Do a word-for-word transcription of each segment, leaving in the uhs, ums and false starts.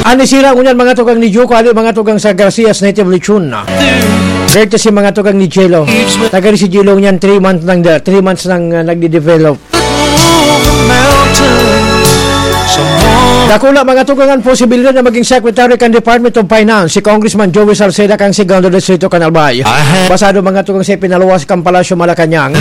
An nasira ngunyan, mga tugang, ni Juco, hali, mga tugang, sa Garcias Native Lechon. Courtesy, mga tugang, ni Jello. Taga rin si Jello ngunyan, three months nang, three months nang, ah, nagde-develop. Dakula, mga tugang, ang posibilidad na maging Secretary kan Department of Finance si Congressman Joey Salceda, kan Segundo Distrito, kan Albay. Basado, mga tugang, sa ipinaluwas kan Palasyo Malacañang.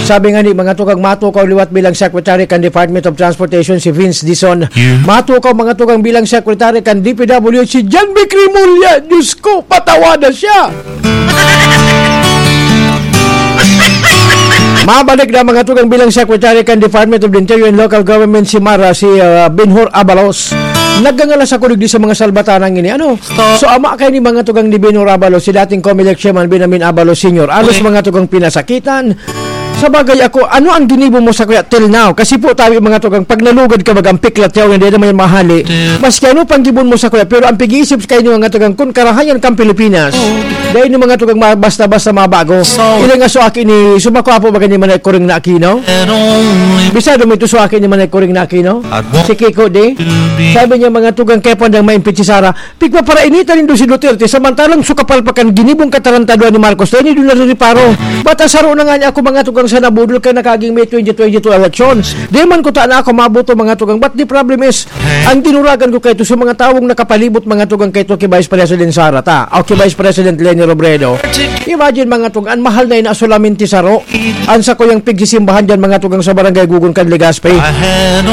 Sabi nga ni, mga tugang, matukaw liwat bilang Secretary kan Department of Transportation si Vince Dizon. Matukaw, mga tugang, bilang Secretary kan D P W H si John Vic Remulla. Diyos ko, patawa na siya! Mabalik na, mga tugang, bilang Secretary kan Department of the Interior and Local Government si Mara, si, ah, Benhur Abalos. Nagangalas ako digdi sa mga salbatanang ini. Ano? So, ama kayo ni, mga tugang, ni Benhur Abalos, si dating Comelec Chairman Benjamin Abalos Senior. Alos, mga tugang, pinasakitan. Sa bagay ako, ano ang ginibo mo sa kuya till now? Kasi po, tabi, mga tugang, pag nalugad ka, bagang piklat yaw, hindi naman yan mahali. Maski ano pang gibon mo sa kuya, pero ang pag-iisip kayo ni, mga tugang, kun karahayan kang Pilipinas, dahil ni, mga tugang, ma-, basta-basta mabago. Ilang aso aki ni, sumakwa po ba ganyan man kuring na Aquino? Bisado mo ito sa aki ni Manay Kuring na Aquino? Si Kiko, di? Sabi niya, mga tugang, kaya po andang maimpit si Sara. Pigpaparainitan nindo si Duterte, samantalang sukapal pa kan ginibong katarantaduan ni Marcos, dahil nindo narereparo. Bata saro na nga niya ako, mga tugang, sa nabudol kay nakaging May twenty twenty-two election. Di man ko ta na ako mabuto, mga tugang, but the problem is, ang dinuragan ko kayo sa mga taong nakapalibot, mga tugang, kayo kay Vice President Sara, ta, o kay Vice President Leni Robredo. Imagine, mga tugang, mahal na ina solamente saro. Ang sa kuyang pigsisimbahan dyan, mga tugang, sa Barangay Gugon kan Legazpi.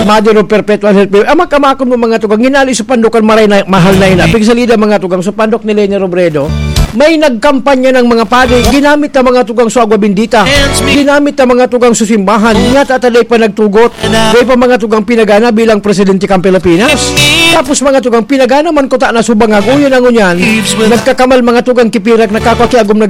Mother of Perpetual Help. Ama kamakon mo, mga tugang, hinali sa pandukan, maray na, mahal na ina. Pigsalida, mga tugang, sa pandok ni Leni Robredo. May nagkampanya ng mga padi. Ginamit na, mga tugang, sa agwa bendita. Ginamit na, mga tugang, sa simbahan. Nga tataday pa nagtugot. Dahil pa, mga tugang, pinagana bilang presidente kang Pilipinas. Tapos, mga tugang, pinagana man kuta na subangag. Uyon ang unyan. Nagkakamal, mga tugang, kipirag, nagkakakiagom na